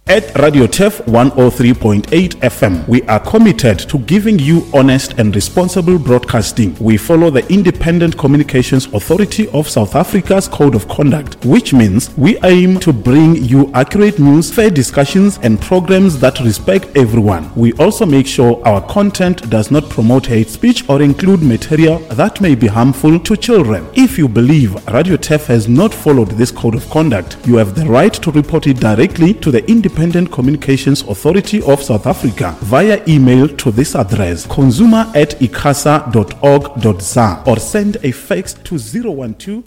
At Radio Turf 103.8 FM, we are committed to giving you honest and responsible broadcasting. We follow the Independent Communications Authority of South Africa's Code of Conduct, which means we aim to bring you accurate news, fair discussions, and programs that respect everyone. We also make sure our content does not promote hate speech or include material that may be harmful to children. If you believe Radio Turf has not followed this code of conduct, you have the right to report it directly to the Independent Communications Authority of South Africa via email to this address consumer at icasa.org.za or send a fax to 012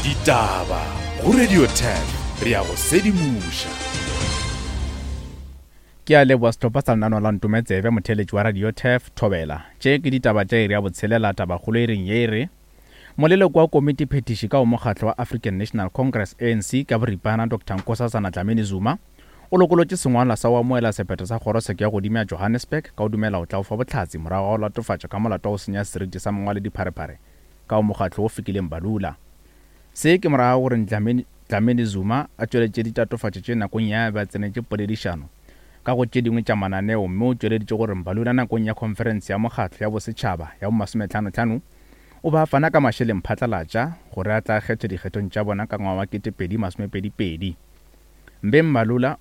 Ditaba go Radio 10 re a go sedimoša. Ke a leboa sehlopha sa lenaneo la Ntome Tsebe, motheeletši wa Radio Turf, Thobela. Tše ke ditaba tša iri ya botshelela, tabakgolo iring ye e re, Moleloko wa komiti phethiši ka go mokgatlo wa African National Congress, ANC, ka boripana Doctor Nkosazana Dlamini Zuma o lokolotše sengwalwa sa go amohela sephetho sa kgorotsheko ya godimo ya Johannesburg ka go dumela go tla go fa bohlatse morago ga go latofatšwa ka molato wa go senya seriti sa mongwaledipharephare ka go mokgatlo wo Fikile Mbalula. Se ke morago ga gore Dlamini Dlamini Zuma a tšweletše ditatofatšo tše nakong ya be a tsenetše poledišano ka go tše dingwe tša mananeo mme o tšweleditše gore Mbalula nakong ya khonferense ya mokgatlo ya bosetšhaba ya bomasometlhanotlhano o be a fana ka mašeleng phatlalatša gore a tla kgethwe dikgethong tša bona ka ngwaga wa 2022. Mbe Mbalula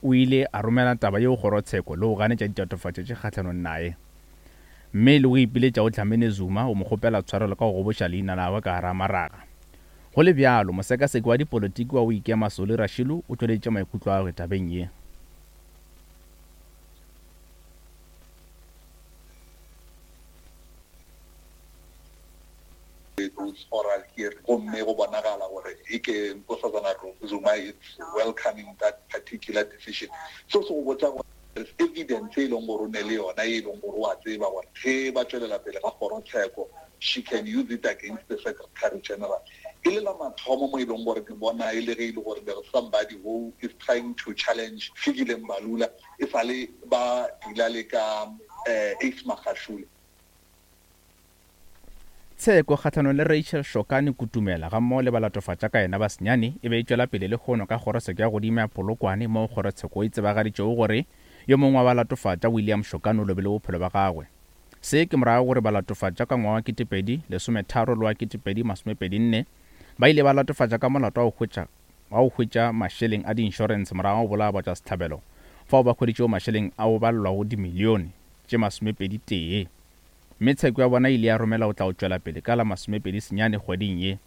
o ile a romela taba yeo kgorotsheko le go ganetša ditatofatšo tše kgahlanong naye mme le go ipiletša go Dlamini Zuma go mo kgopela tshwarelo ka go goboša leina la gagwe ka gare ga maraga. Go le bjalo, mosekaseki wa dipolotiki wa go ikema Solly Rashilu o tšweleditše maikutlo a gagwe tabeng ye. Those oral hearings gomme go bonagala gore e ke Nkosazana Zuma is welcoming that particular decision. Seo se go botša gore there's evidence e leng gore o ne le yona e leng gore o a tseba gore ge ba tšwelela pele ga kgorotsheko she can use it against the Secretary General. E le la mathomo mo e leng gore ke bona e le ge e le gore there is somebody who is trying to challenge Fikile Mbalula e sa le ba deala le ka Ace Magashule. Tsheko kgahlanong le Rachel Shokane Kutumela gammogo le balatofatša ka yena ba senyane e be e tšwela pele lehono ka kgorotsheko ya godimo ya Polokwane moo kgorotsheko e tsebagaditšego gore yo mongwe wa balatofatša William Shokane o lobile bophelo bja gagwe. Se ke morago gore balatofatša ka ngwaga wa 2013 le wa 2024 ba ile ba latofatša ka molato wa go hwetša wa go hwetša mašeleng a diinšorense morago ga go bolaya batšwasehlabelo fao ba hweditšego mašeleng a go balelwago dimilione tše masomepedi tee. Mme tsheko ya bona e ile ya romela go tla go tšwela pele ka la 29 kgweding ye.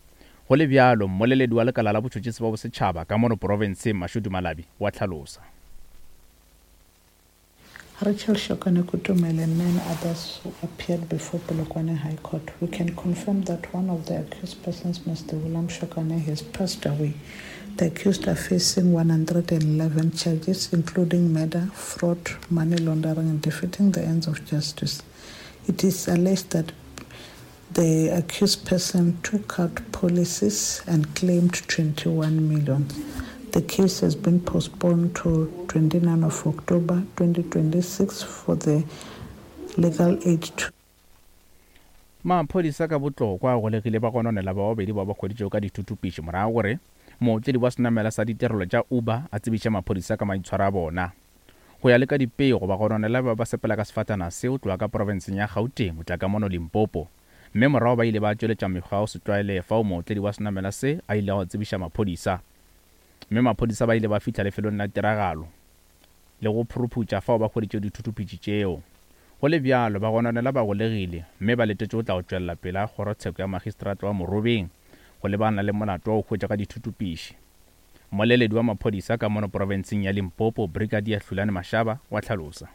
Go le bjalo, mmoleledi wa lekala la botšhotšhisi ba bosetšhaba ka mono profenseng, Mashudu Malabi, o a hlalosa. Rachel Shokane Kutumele and nine others who appeared before Polokwane High Court. We can confirm that one of the accused persons, Mr. William Shokane, has passed away. The accused are facing 111 charges, including murder, fraud, money laundering, and defeating the ends of justice. It is alleged that the accused person took out policies and claimed 21 million. The case has been postponed to 29 of October 2026 for the legal aid to Maphodisa ka botlokwa a golegile bagononelwa ba babedi bao ba hweditšwego ka dithuthupiši morago gore mootledi wa senamela sa ditirelo tša Uber a tsebiše maphodisa ka maitshwaro a bona. Go ya le ka dipego, bagononelwa ba ba sepela ka sefatana seo tloga ka profenseng ya Gauteng go tla ka mono Limpopo, mme morago ba ile ba tšweletša mekgwa ya go se tlwaelege fao mootledi wa senamela se a ilego a tsebiša maphodisa. Mme maphodisa ba ile ba fihla lefelong la tiragalo le go phuruphutša fao ba hweditšego dithuthuphitši tšeo. Go le bjalo, bagononelwa ba golegile mme ba letetše go tla go tšwelela pele ga kgorotsheko ya magistrata wa Morobeng go lebana le molato wa go hwetšwa ka dithuthupiši. Mmoleledi wa maphodisa ka mono profenseng ya Limpopo, Brigadier Hlulani Mashaba, wa hlalosa.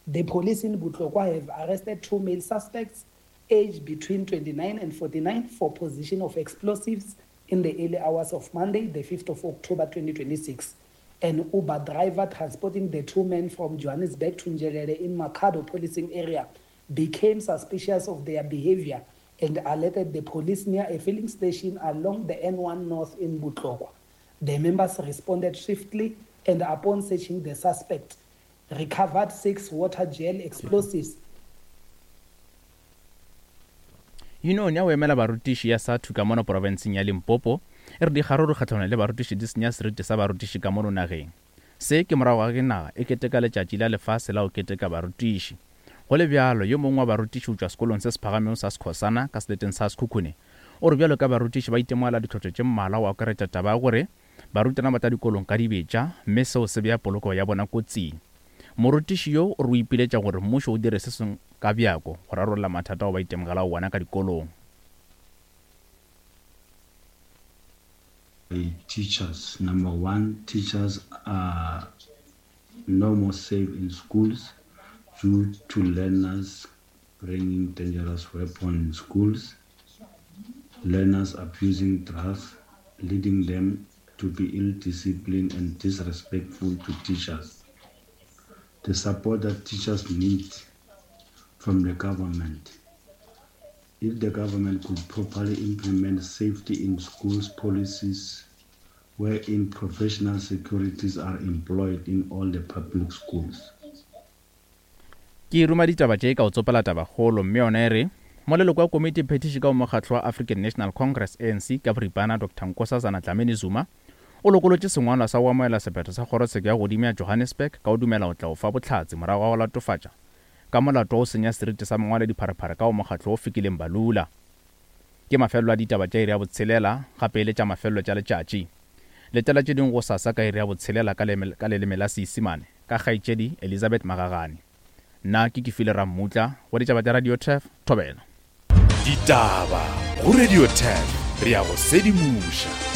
The police in Botlokwa have arrested two male suspects aged between 29 and 49 for possession of explosives in the early hours of Monday, the 5th of October 2026. An Uber driver transporting the two men from Johannesburg to Njelele in Makhado policing area became suspicious of their behavior and alerted the police near a filling station along the N1 North in Botlokwa. The members responded swiftly and upon searching the suspect, recovered six water gel explosives. Yunione ya go emela barutiši ya SADTU ka mono profenseng ya Limpopo E re dikgaruru kgahlanong le barutiši di senya seriti sa barutiši ka mono nageng. Se ke morago ga ge naga e keteka Letšatši la Lefase la go Keteka Barutiši. Go le bjalo, yo mongwe wa barutiši go tšwa sekolong se se phagamego sa Skhosana ka seleteng sa Sekhukhune o re bjalo ka barutiši ba itemogela ditlhotlo tše mmalwa go akaretša taba ya gore barutwana ba tla dikolong ka dibetša mme seo se bea polokego ya bona kotsing. Morutiši yo o re o ipiletša gore mmušo o dire se sengwe ka bjako go rarolla mathata ao ba itemogelago wona ka dikolong. Teachers, number one, teachers are no more safe in schools due to learners bringing dangerous weapons in schools, learners abusing drugs, leading them to be ill-disciplined and disrespectful to teachers. The support that teachers need from the government. If the government could properly implement safety in schools policies wherein professional securities are employed in all the public schools. Ke ruma ditaba tše ka go tsopela tabakgolo mme yona e re, Moleloko wa komiti phethiši ka go mokgatlo wa African National Congress, ANC, ka boripana Doctor Nkosazana Dlamini Zuma o lokolotše sengwalwa sa go amogela sephetho sa kgorotsheko ya godimo ya Johannesburg ka go dumela go tla go fa bohlatse morago ga go latofatša ka molato wa go senya seriti sa mongwaledipharephare ka go mokgatlo wo Fikile Mbalula. Ke mafelelo a ditaba tša iri ya botshelela, gape e le tša mafelelo tša letšatši. Letela tše dingwe gosasa ka iri ya botshelela ka ka leleme la Seisimane ka kgaetšedi Elizabeth Magagane. Nna ke Kefile Rammutla, go ditaba tša Radio Turf, Thobela. Ditaba go Radio Turf, re a go sedimoša.